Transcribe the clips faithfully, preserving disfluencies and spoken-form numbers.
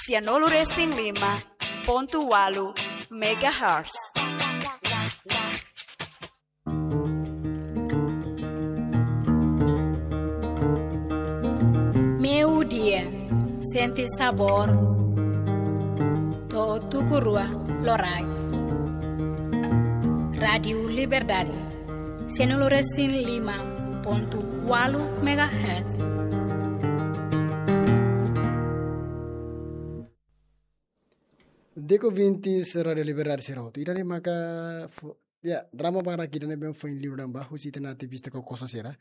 Sianulu resin lima pontu walu megahertz. Meio-dia, sente sabor. To'o tuku rua loraik. Rádiu Liberdade, sianulu resin lima pontu walu megahertz. Di'ak, ouvintes Rádiu Liberdade sira hotu. Ida-ne'e maka fo-, ya, drama barak ida ne'ebé foin liuran ba husi ita-nia ativista Kokosa sira.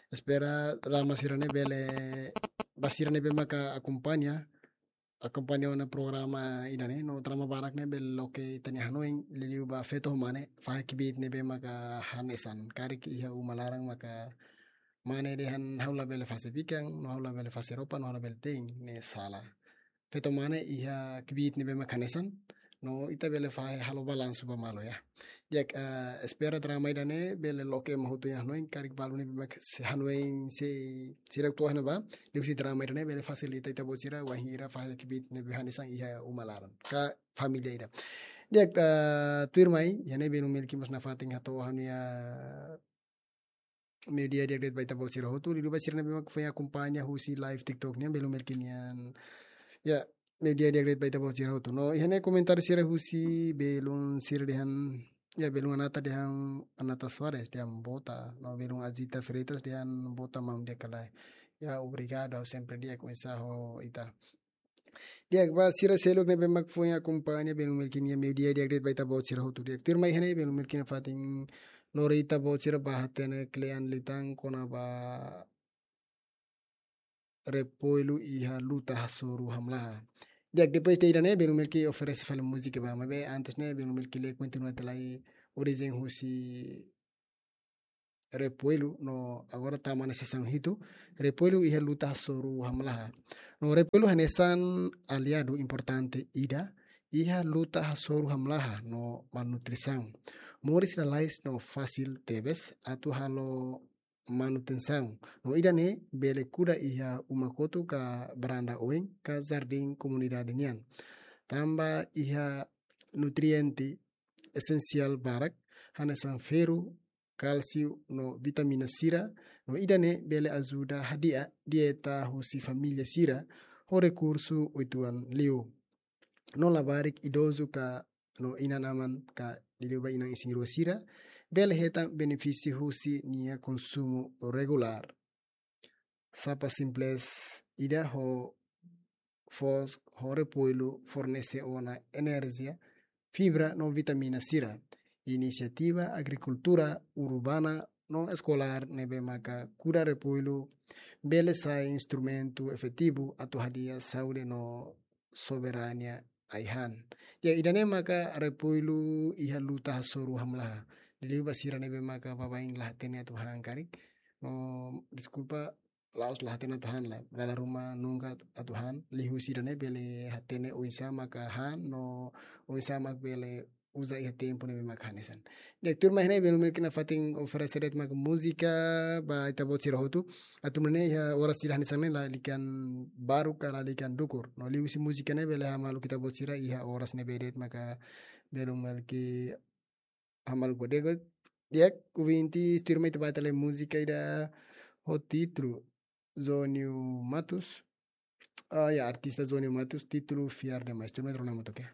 Espera drama sira-ne'e bele, ba sira ne'ebé maka akompaña, akompaña ona programa ida-ne'e, no drama barak ne'e bele loke ita-nia hanoin, liuliu ba feto ho mane, fahe kbiit ne'ebé maka hanesan, karik iha uma laran maka mane dehan ha'u labele fase bikan, no ha'u labele fase roupa, no ha'u labele te'in, ne'e sala. Feto mane iha kbiit ne'ebé mak hanesan, no ita bele fahe halo balansu ba malu ya. Di'ak, eh, espera drama ida-ne'e bele loke ema hotu nia hanoin, karik balu ne'ebé mak sei hanoin sei, sira atu hanoin ba, liuhusi drama ida-ne'e bele fasilita ita-boot sira wainhira fahe kbiit ne'ebé hanesan iha uma laran ka família ida. Di'ak, eh, tuirmai, iha ne'e belun Melki mós nafatin hato'o ha'u-nia meio-dia di'ak de'it ba ita-boot sira hotu, liuliu ba sira ne'ebé mak foin akompaña husi live TikTok nian, belun Melki nian. Ya, meio-dia di'ak de'it ba ita-boot sira hotu. No, iha ne'e komentáriu sira husi belun sira dehan, ya, belun Anata dehan, Anata Soares dehan bota, no belun Azita Freitas dehan bota maun di'ak ka lae. Ya, obrigadu, ha'u sempre di'ak oinsá ho ita. Di'ak, ba sira seluk ne'ebé mak foin akompaña belun Melki nia meio-dia di'ak de'it ba ita-boot sira hotu di'ak. Tuirmai iha ne'e belun Melki nafatin lori ita-boot sira ba hatene kle'an liután kona-ba Repoilu iha luta hasoru hamlaha. Di'ak, depois de ida-ne'e belun Melki oferese fali múzika ba, maibé antes ne'e belun Melki lee kontinua tiha lai orijen husi Repoilu no agora tama ona sesaun hitu, Repoilu iha luta hasoru hamlaha. No Repoilu hanesan aliadu importante ida iha luta hasoru hamlaha no malnutrisaun. Moris lalais no fasil tebes atu halo manutensaun. No ida-ne'e bele kuda iha uma kotuk ka varanda oin ka jardín komunidade nian. Tanba iha nutriente esensiál barak, hanesan ferru, kálsiu no vitamina sira, no ida-ne'e bele ajuda hadi'a dieta husi família sira ho rekursu uitoan liu. No labarik idozu ka no inan-aman ka liuliu ba inan isin-rua sira, bele hetan benefísiu husi nia konsumu regulár. Sapa simples ida ho fos-, ho Repoilu fornese ona enerjia, fibra no vitamina sira. Inisiativa agrikultura urbana no eskolár ne'ebé maka kuda Repoilu bele sai instrumentu efetivu atu hadi'a saúde no soberania ai-han. Ya, ida-ne'e maka Repoilu iha luta hasoru hamlaha. Liuliu ba sira ne'ebé maka baibain la hatene atu han karik. No, deskulpa, la'ós la hatene atu han lae. Dala ruma nunka atu han, liuhusi ida-ne'e bele hatene oinsá maka han, no oinsá mak bele uza iha tempu ne'ebé mak hanesan. Di'ak, tuirmai iha ne'e belun Melki nafatin oferese de'it mak múzika ba ita-boot sira hotu. Atu nune'e iha oras sira hanesan ne'e lalika baruk ka lalika dukur. No liuhusi múzika ne'e bele hamaluk ita-boot sira iha oras ne'ebé de'it maka belun Melki hamaluk ba di'ak. Di'ak, ouvintes, tuirmai ita bá tiha lai múzika ida ho títulu Zonio Matos. Ah, ya, artista Zonio Matos, títulu Fiar Demais. Tuirmai rona hamutuk ya.